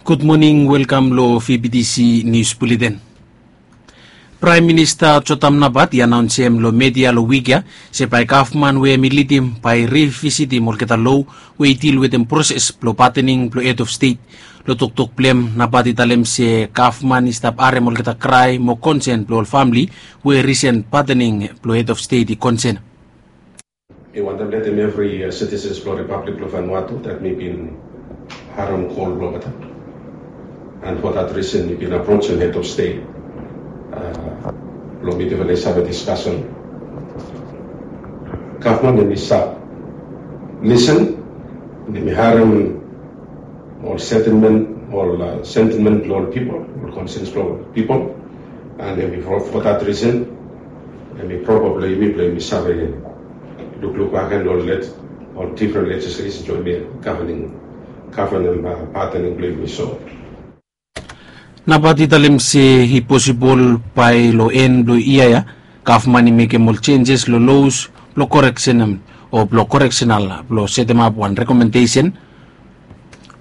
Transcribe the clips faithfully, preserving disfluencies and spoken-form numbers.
Gud moning, welkam lo V B T C Nius Buleten. Praem Minista Jotam Napat i anaonsem lo media lo wik ya se bae gavman we hemi lidim bae i rivisitim olgeta lo we i dil wetem proses blo patening blo hed of stet. Lo toktok blo hem, Napat i talem se gavman i stap harem olgeta krae mo konsen blo ol famle we risen patening blo hed of stet i konsen. Mi wantem letem evri sitisens blo Ripablik blo Vanuatu dat mi bin harem kol blo olgeta. And for that reason mi bin aprojem hed of stet blo mi bifo i save diskasen. Gavman hemi stap lisen, hemi harem ol sentimen, ol sentimen blo ol pipol, ol konsens blo ol pipol. And hemi for that reason hemi propa blo yumi blo yumi save lukluk bakegen ol difren lejislesen blo yumi gavanem, gavanem patening blo yumi. So Napat i talem se i posibol bae lo en blo yia ya gavman i mekem ol jenjes lo los blo koreksenem o blo koreksenal blo setemap wan rekomendesen,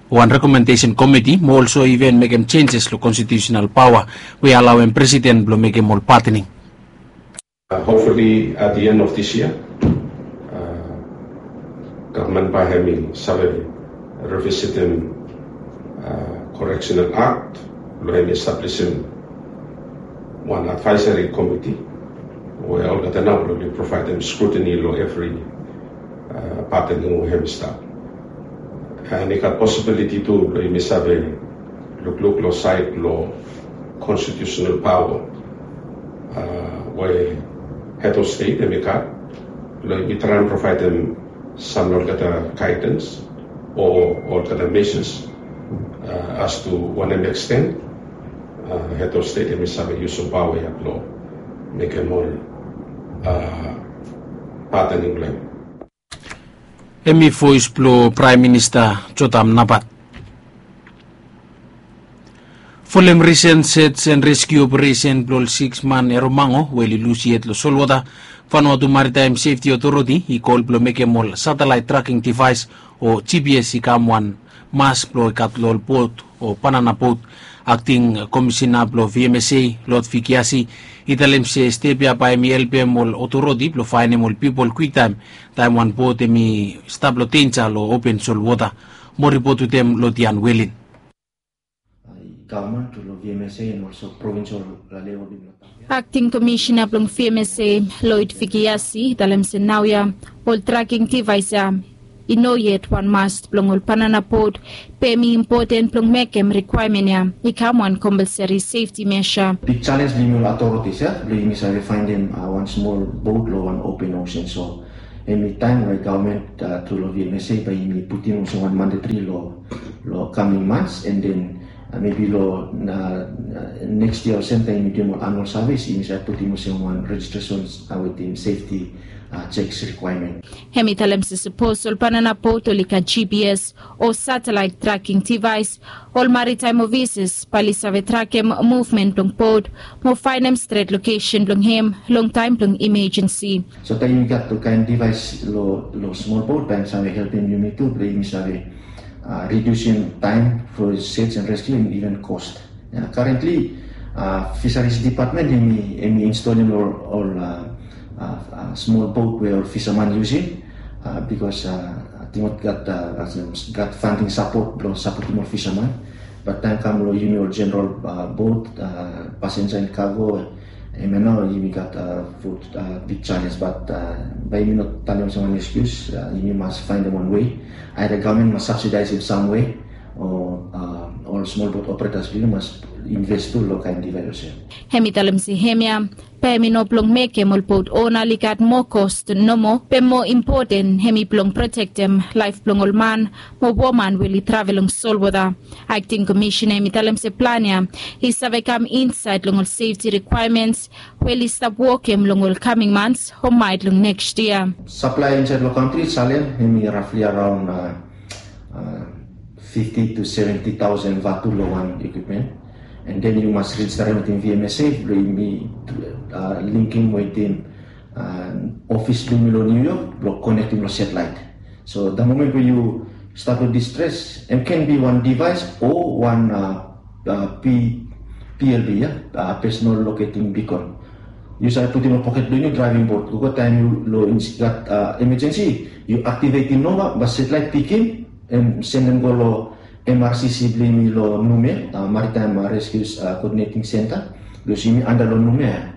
wan rekomendesen komiti mo olso iven mekem jenjes lo konstitiusenal paoa we i alaoem presiden blo mekem ol patening. Hopefully at the end of this year gavman bae hemi save rivisitim Correctional Act blo hemi establisim wan advisory komiti we olgeta nao blo oli provaedem scrutiny lo evri patening we hemi stap. And i gat posibiliti tu blo yumi save lukluk lo saed lo konstitiusenal paoa we hed of stet hemi gat, blo yumi traem provaedem sam olgeta gaedens o olgeta mejas as to wanem eksten hed of stet hemi save yusum paoa ya blo mekem ol patening blo hem. Hemi voes blo Praem Minista Jotam Napat. Folem risen sej and reskiu operesen blo ol siks man Eromango we oli lus yet lo solwota, Vanuatu Maritime Safety Authority i kol blo mekem ol satelaet traking devaes o G P S i kam wan mas blo i gat lo ol bot o banana bot. Akting komisina blo V M S A, Lord Vikiasi, i talem se step ya bae hemi helpem ol otoriti blo faenem ol pipol kwiktaem taem wan bot hemi stap lo denja lo open solwota. Mo ripot wetem Lodian Welin. Akting komisina blong V M S A, Lloyd Vikiasi, i talem se naoia ol traking devaes ya i no yet wan mas blong ol banana bot, be hemi impoten blong mekem rikwaemen ya i kam wan kompalsari sefti mesa. Big challenge blong yumi ol authorities ya blong yumi save faenem wan smol bot lo wan open ocean. So hemi taem we gavman tru lo V M S A bae yumi putum olsem wan mandatory lo lo coming months, and then mebi lo next year olsem taem yumi duim ol annual service yumi save putum olsem wan registration wetem safety checks requirement. Hemi talem se sapos ol banana bot oli gat G P S o satellite tracking device, ol maritime officers bae oli save trakem movement blong bot mo faenem stret location blong hem long taem blong emergency. So taem yumi gat ol kaen device lo smol bot bae hem save helpem yumi tu blong yumi save redusim taem fo search and rescue and even cost. Currently Fisheries Department hemi instalim lo ol smol bot we ol fisaman yusim, bikos ating ol gat gat funding sapot blong sapotem ol fisaman. Bat taem kam lo yumi ol jeneral bot, pasenja and kago, hemia nao yumi gat big challenge, bat bae yumi no talem olsem wan excuse. Yumi mas faenem wan wei, either gavman mas subsidaesem sam wei o ol smol bot operators blong yumi mas invest tu lo kaen device olsem. Hemi talem se hemia bae hemi no blong mekem ol bot ona oli gat moa kos nomo, be moa impoten hemi blong protektem laef blong ol man mo woman we oli travel long solwota. Akting komisina hemi talem se plan ya i save kam insaed long ol sefti rikwaements we oli stap wokem long ol kaming months o maet long next year. Saplae insaed long kantri Salem hemi rafli araon fifti tu seventi taosen vatu lo wan ekwipmen. And then yu mas rejisterem wetem V M S A blong yumi linkem wetem ofis blong yumi lo New York blong konektem lo satellite. So the moment we yu Stap long distres, em ken bi wan devaes o wan, a, a, P, P L B, ya, a, personal locating beacon. Yu save putum long poket blong yu draeving bot. Gogo taem yu long ins-, gat, a, emergency, yu aktivetim nao, bae satelit pikim, em sendem go long M R C C blong yumi long Numea, a, Maritime, a, Rescue, a, Coordinating Center, bikos yumi anda long Numea.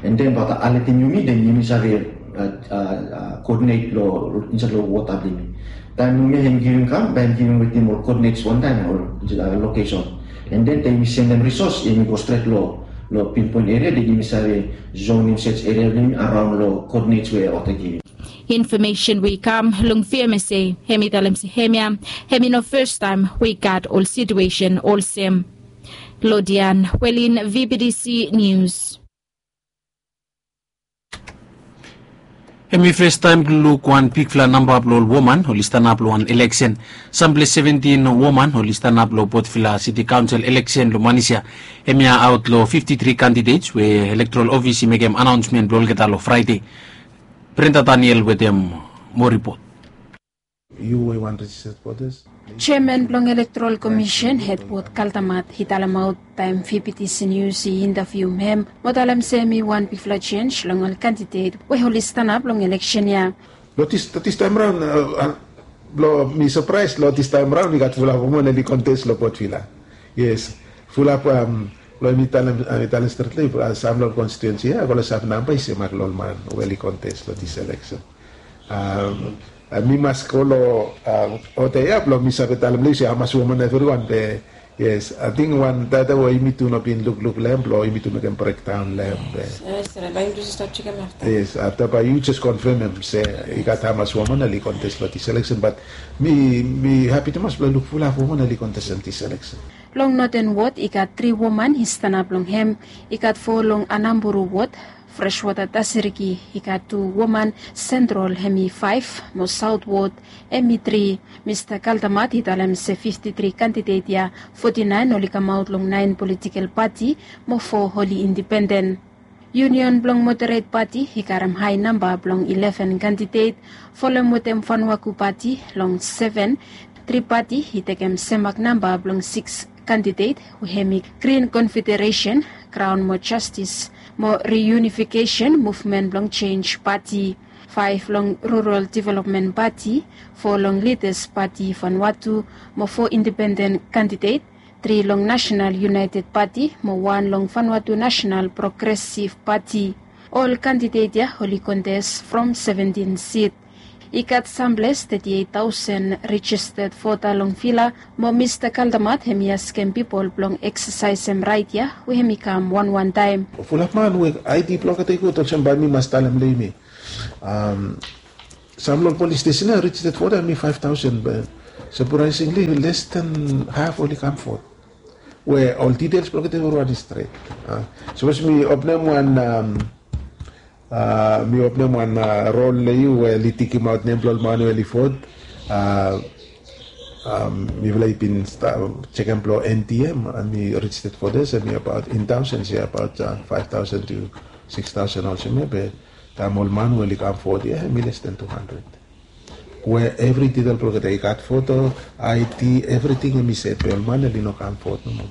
And then bae olgeta aletim yumi, then yumi save, a, a, a, coordinate long, insaed long wota blong yumi. Taem Numea hem givim kam, bae hem givim wetem ol coordinates wantaem, ol, a, location. And then taem yumi sendem resource, yumi go stret long, long pinpoint area, then yumi save zonem search area blong yumi araon long coordinates we wota givim. Infomesen we i kam long V M S A, hem i talem se hemia hem i no fastaem we i gat ol situesen olsem. Lodian Welin, V B T C News. Hem i fastaem blong luk wan bigfala namba blong ol woman oli stanap long wan eleksen. Samples seventin woman oli stanap long Port Vila City Council eleksen long manis ya. Hemia aot long fifti tri candidates we electoral office i mekem anaonsmen blong olgeta long Fraede. Brenda Daniel wetem moa ripot. Yu we i wan registered voters. Jeaman blong Electoral Commission, Hetwod Kaldamat, i talemaot taem V B T C News i intavium hem, mo talem se hem i wan bigfala jenis long ol kandidet we oli stanap long eleksen ya. Long dis, long dis taem raon, a, a, long mi sapraes, long dis taem raon i gat fulap woman oli kontes long Port Vila. Yes, fulap, am, long mi talem, a, mi talem stret long yu, a, sam long konstituensi ya, a, go long save namba i semak long ol man we oli kontes long dis eleksen. Am, a, mi mas go long, a, oda ya blong mi save talem long yu se hamas woman evriwan, be yes, ating wan data we yumitu no bin lukluk long hem, blong yumitu mekem brekdaon long hem, be. Yes, bae yumitu stap jekem afta. Yes, afta bae yu jes konfemem se i gat hamas woman oli kontes long dis eleksen, bat mi, mi hapi tumas blong luk fulap woman oli kontes long dis eleksen. Long Noten Wod i gat tri woman i stanap long hem, i gat fo long Anamburu Wod, Freshwater Tasiriki i gat tu woman, Central hem i faef, mo South Wod hem i tri. Mista Kaldamat i talem se fifti tri kandidet ya, foti naen oli kamaot long naen politikel pati, mo fo oli indipenden. Union blong Moderet Pati i karem hae namba blong ileven kandidet, folem wetem Fanuaku Pati long seven, Tri Pati i tekem semak namba blong sikis kandidet, we hem i Green Confederation, Crown mo Jastis mo Reunifikesen Muvmen blong Jenj Pati, faef long Rural Developmen Pati, fo long Lidas Pati Fanuatu, mo fo indipenden kandidet, tri long Nasenal Unaeted Pati, mo wan long Fanuatu Nasenal Progresiv Pati. Ol kandidet ya oli kontes from seventin sit. I gat samples teti eit taosen rejisted vota long Vila, mo Mista Kaldamat hem i askem pipol blong eksasaesem raet ya we hem i kam wanwan taem. Fulap man we ID blong olgeta i gud, olsem bae mi mas talem long yumi. Am, sam long polis stesen ya rejisted vota hem i faef taosen, be sapraesingli les dan haf oli kam vot. We ol ditels blong olgeta evriwan i stret. A, sapos mi openem wan, am, a, mi openem wan, a, rol long yu we oli tikimaot nem blong ol man we oli vot. A, am, mifala i bin sta-, jekem blong N T M, a, mi rejisted voters, a, mi abaot in taosens ya, abaot, a, faef taosen tu sikis taosen olsem ya, be taem ol man we oli kam vot ya, hem i les dan tu handred. We evri ditel blong olgeta i gat voto, ID, evriting hem i set, be ol man oli no kam vot nomo.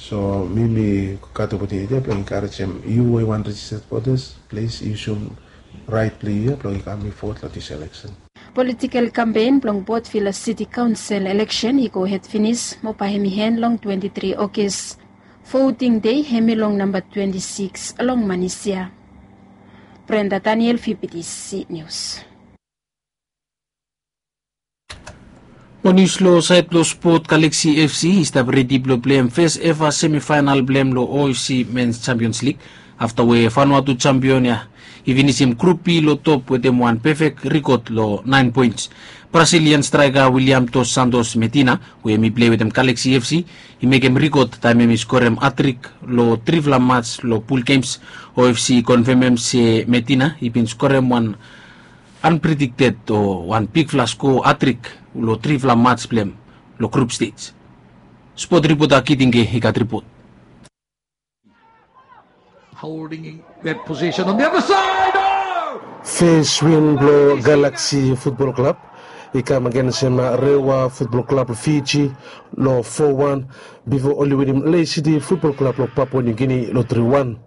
So mi, mi gat opotuniti ya blong enkarejem yu we i wan rejisted voters, plis yusum raet blong yu ya blong i kam i vot long dis eleksen. Politikel kampen blong Port Vila City Council eleksen i gohed finis, mo bae hem i en long twenti tri Ogos. Voting dei hem i long namba twenti sikis long manis ya. Brenda Daniel, V B T C News. Mo nius long saed blong spot, Galaxy F C i stap redi blong pleim fes eva semifaenal blong hem long O F C Men's Champions League, afta we Vanuatu champion ya i finisim Grup B long top wetem wan pefek rekod long naen poens. Brazilian straeka William Dos Santos Medina, we hem i plei wetem Galaxy F C, i mekem rekod taem hem i skorem hatrik long trifala mats long pul gems. O F C i konfemem se Medina i bin skorem wan unpredicted o wan bigfala skoa hatrik long trifala mats blong hem long grup stej. Spot ripota Kitinge i gat ripot. Holding that position on the other side. Oh! Fes win blong Galaxy Football Club I kam agensem Rewa Futbol Klab long Fiji long fo wan, bifo oli winim Lae City Futbol Klab long Papua Niu Gini long tri wan.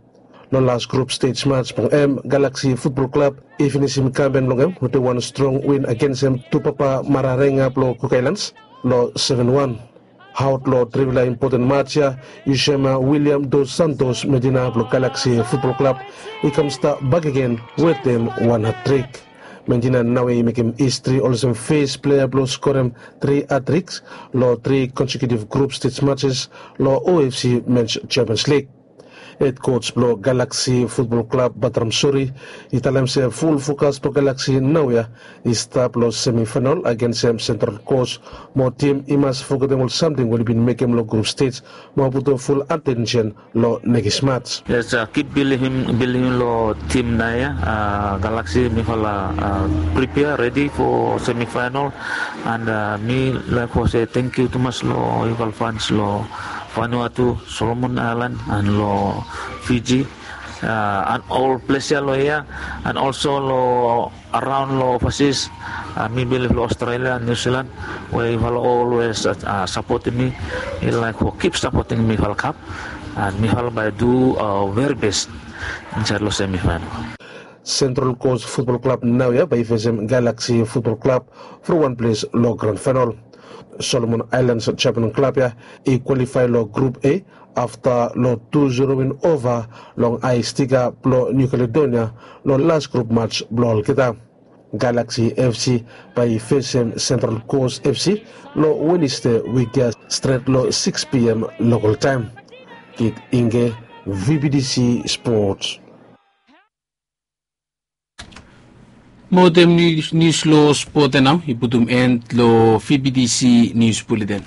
Long las grup stej mats blong hem, Galaksi Futbol Klab i finisim kampen blong hem wetem wan strong win agensem Tupapa Mararenga blong Kuk Aelans long seven wan. Haot long trivela impoten mats ya, Yusema William Dos Santos Medina blong Galaksi Futbol Klab i kam stap bakegen wetem wan hatrik. Medina naoia i mekem histri olsem fes plea blong skorem tri hatriks long tri konsekiutiv grup stej matses long O F C Mens Champions Lig. Hed koj blong Galaksi Futbol Klab, Batram Suri, i talem se ful fokas blong Galaksi naoia i stap long semifaenol agensem Sentral Kos, mo tim i mas fogetem ol samting we oli bin mekem long grup stej mo putum ful atensen long nekis mats. Yes, kip bilivim bilivim long tim naoia. Galaksi mifala pripea redi fo semifaenol. And mi laik fo se tangkiu tumas long yufala fans long Vanuatu, Solomon Aelan, and long Fiji, and ol ples ya long hia, and olso long araon long ovasis. Mi bilif long Australia, New Zealand, we yufala olwes sapotem mi. Mi laik fo kip sapotem mifala kap, and mifala bae du veri bes insaed long semifaenol. Sentral Kos Futbol Klab naoia bae i fesem Galaksi Futbol Klab from wan ples long gran faenol. Solomon Aelans Japan klab ya i kwalifae long grup A afta long tu zero win ova long Ae Stika blong Niu Kaledonia long las grup mats blong olgeta. Galaksi F C bae i fesem Sentral Kos F C long Wenesde wik ya stret long sikis P M lokal taem. Kit Inge, V B T C Sports. Mo wetem nius long spot ya nao i putum en long V B T C Nius Buleten.